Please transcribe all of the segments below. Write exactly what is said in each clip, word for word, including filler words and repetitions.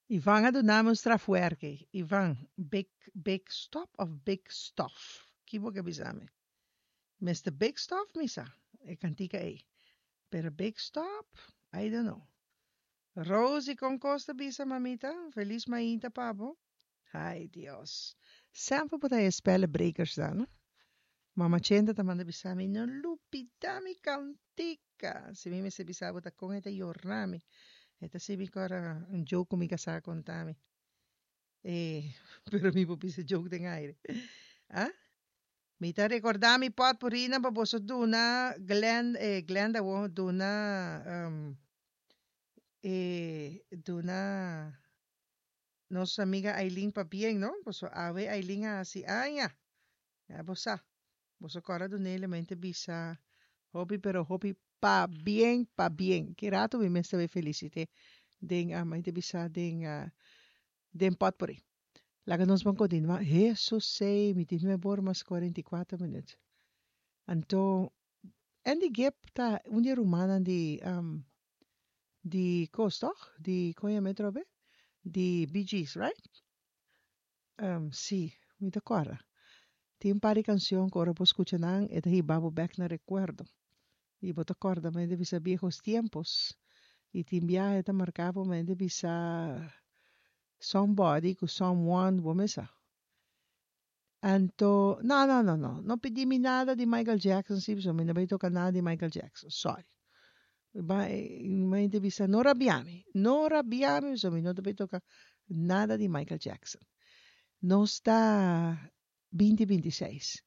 Ivan a duna mi un strafwerk. Ivan, big, big stop of big stuff? Ki bo ke bisa mi? Mister Big Stuff mi sa, e kantika ei. Pero Big Stop, I don't know. Rosie kon kos ta bisa, mamita? Felis mainta pa bo. Ai, Dios. Semper bo ta e spellebrekers dan, no? Mama Chenta ta manda bisa mi, no lubida mi kantika. Si mi mester bisa bo ta kon e ta yorna mi. E ta sibi ku ora un joke ku mi kasá konta mi. E, pero mi por bisa joke den aire. Ah? Mi ta rekordá mi potpurrinan pa boso duna Glen, eh, Glenda wo duna, um, eh, duna nos amiga Aileen pabien, no? Boso awe Aileen a hasi aña. Ya bo sa. Boso kòrda dun'é lemente bisa hopi pero hopi pabien, pabien. Ki rato mi mester bai felisit'é den, uh, mi ta bisa den, uh, den potpurrí. Laga nos ban kontinuá. Hesus sei, mi tin nuebe or mas kuarenta i kuater minüt. Anto, Andy Gibb ta un di e rumannan di, um, di kos, tòg? Di, kon yama e atrobe? Di Bee Gees, right? Um, sí, mi ta kòrda. Tin un par di kanshon ku ora bo skucha nan, e ta hiba bo bèk na rekuerdo. I bo ta kòrda manera di bisa viejos tiempos. I tin biaha e ta marka bo manera di bisa somebody ku someone bo mes sa. Anto, no, no, no, no, no pidi mi nada di Michael Jackson si, pasobra mi no bai toka nada di Michael Jackson, sorry. Mi ta bisa no rabia mi, no rabia mi pasobra mi no ta bai toka nada di Michael Jackson. Nos ta binti binti seis.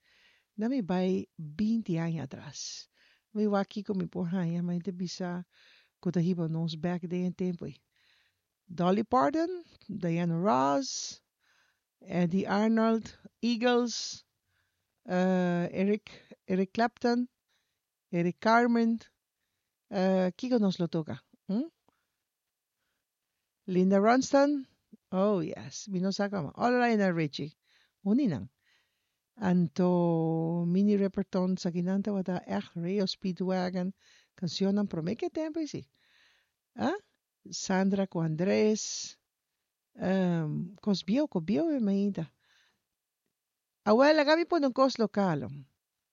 Na mi bai binti aña atras. Mi wak kiko mi por haña, mi ta bisa ku ta hiba nos bèk den e tempu ei. Dolly Parton, Diana Ross, Eddy Arnold, Eagles, Eric Eric Clapton, Eric Carmen, kiko nos lo toka? Hm? Linda Ronstadt, oh yes, mi no sa kaba. O Lionel Richie, un di nan. Anto Minnie Riperton, esakinan tabata ègt R E O Speedwagon, kanshonnan promé ku e tempu ei si. Ah? Sandra ku Andres, um, kos bieu, kos bieu e mainta. Awel, laga mi pone un kos lokal.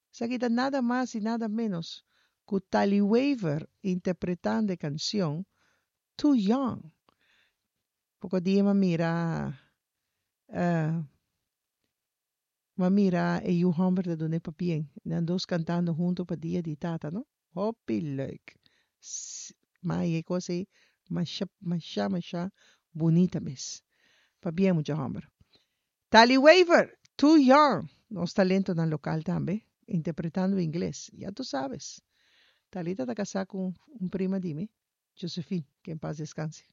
Esaki ta nada mas i nada ménos ku Tali Weaver interpretando e kanshon Too Young. Poko dia m'a mira, uh, m'a mira e yu hòmber ta duna e pabien. Nan dos kantando huntu pa dia di tata, no? Hopi leuk. Ma e kos ei masha, masha, masha bunita mes. Pabien, mucha hòmber. Tali Weaver, Too Young. Nos talentonan lokal tambe, interpretando ingles. Ya tu sabes. Talita ta kasá ku un prima di mi, Josephine, que en paz descanse.